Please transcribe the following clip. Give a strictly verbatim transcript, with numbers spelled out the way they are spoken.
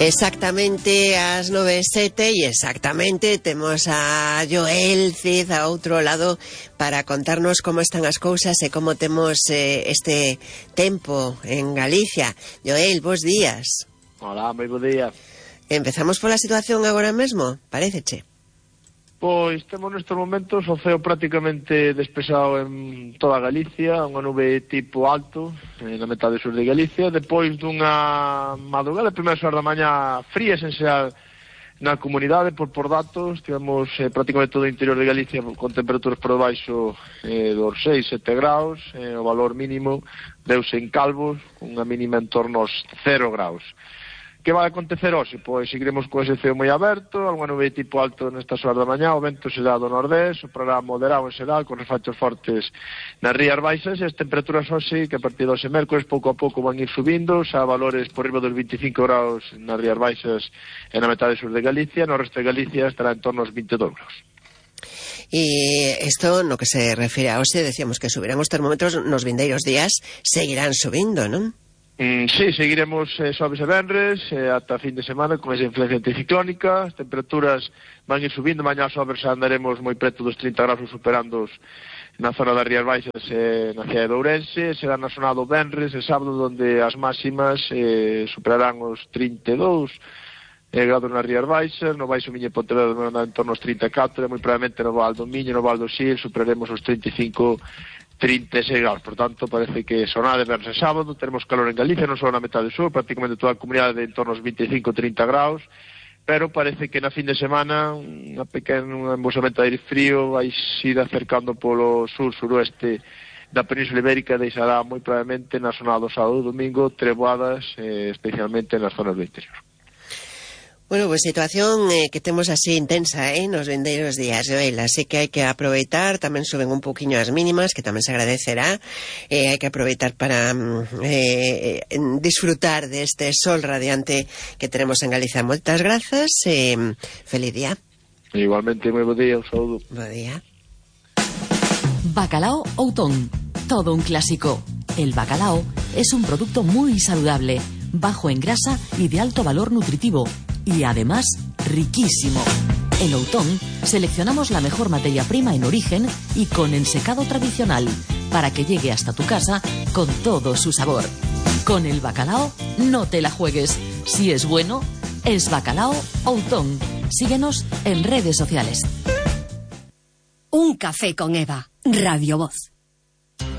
Exactamente ás nove e sete e exactamente temos a Joel Cid a outro lado para contarnos como están as cousas e como temos eh, este tempo en Galicia. Joel, bons días. Hola, moi bo día. Empezamos pola situación agora mesmo, paréceche? Pois temos nestes momentos o ceo prácticamente despexado en toda Galicia, unha nube tipo alto na metade sur de Galicia, depois dunha madrugada, primeiras horas da mañá frías en xeral na comunidade, por, por datos, tivemos eh, prácticamente todo o interior de Galicia con temperaturas por debaixo eh, dos seis, sete graus, eh, o valor mínimo deuse en Calvos, unha mínima en torno aos cero graus. Que vai acontecer hoxe? Pois seguiremos con ese ceo moi aberto, algunha nube tipo alto nestas horas da mañá, o vento será do nordés, soprará moderado en xeral, con refachos fortes nas rías baixas, e as temperaturas hoxe, que a partir de hoxe mércores, pouco a pouco van ir subindo, xa valores por riba dos veinticinco graus nas rías baixas e na metade sur de Galicia, no resto de Galicia estará en torno aos vinte e dous graus. E isto, no que se refire a hoxe, decíamos que subirán os termómetros nos vindeiros días, seguirán subindo, non? Mm, sí, seguiremos eh, xoves e venres eh, ata fin de semana con esa influencia anticiclónica. As temperaturas van ir subindo, mañá xoves andaremos moi preto dos trinta graus, superando na zona das Rías Baixas eh, na cidade de Ourense. Será na zona do venres e sábado onde as máximas eh, superarán os trinta e dous eh, grados nas Rías Baixas. No Baixo Miño e Pontevedra en torno aos trinta e catro, e moi probablemente no Val do Miño, no Val do Sil superaremos os trinta e cinco, trinta e seis graus. Por tanto, parece que sonade verse sábado, teremos calor en Galicia, non só na metade sur, prácticamente toda a comunidade en torno aos vinte e cinco, trinta graus, pero parece que na fin de semana unha pequena un embosamento de aire frío vai ir acercando polo sur-suroeste da Península Ibérica, deixará moi probablemente na zona do sábado e domingo treboadas, eh, especialmente nas zonas do interior. Bueno, pues situación eh, que temos así intensa, eh, nos vindeiros días, Joel, así que hai que aproveitar, tamén suben un poquinho as mínimas, que tamén se agradecerá, eh, hai que aproveitar para eh, disfrutar deste sol radiante que tenemos en Galicia. Moitas grazas, eh, feliz día. Igualmente, moi bo día, un saúdo. Bo día. Bacalao Outón, todo un clásico. El bacalao es un producto muy saludable, bajo en grasa y de alto valor nutritivo, y además riquísimo. En Outón seleccionamos la mejor materia prima en origen y con ensecado tradicional para que llegue hasta tu casa con todo su sabor. Con el bacalao no te la juegues. Si es bueno, es Bacalao Outón. Síguenos en redes sociales. Un café con Eva, Radio Voz.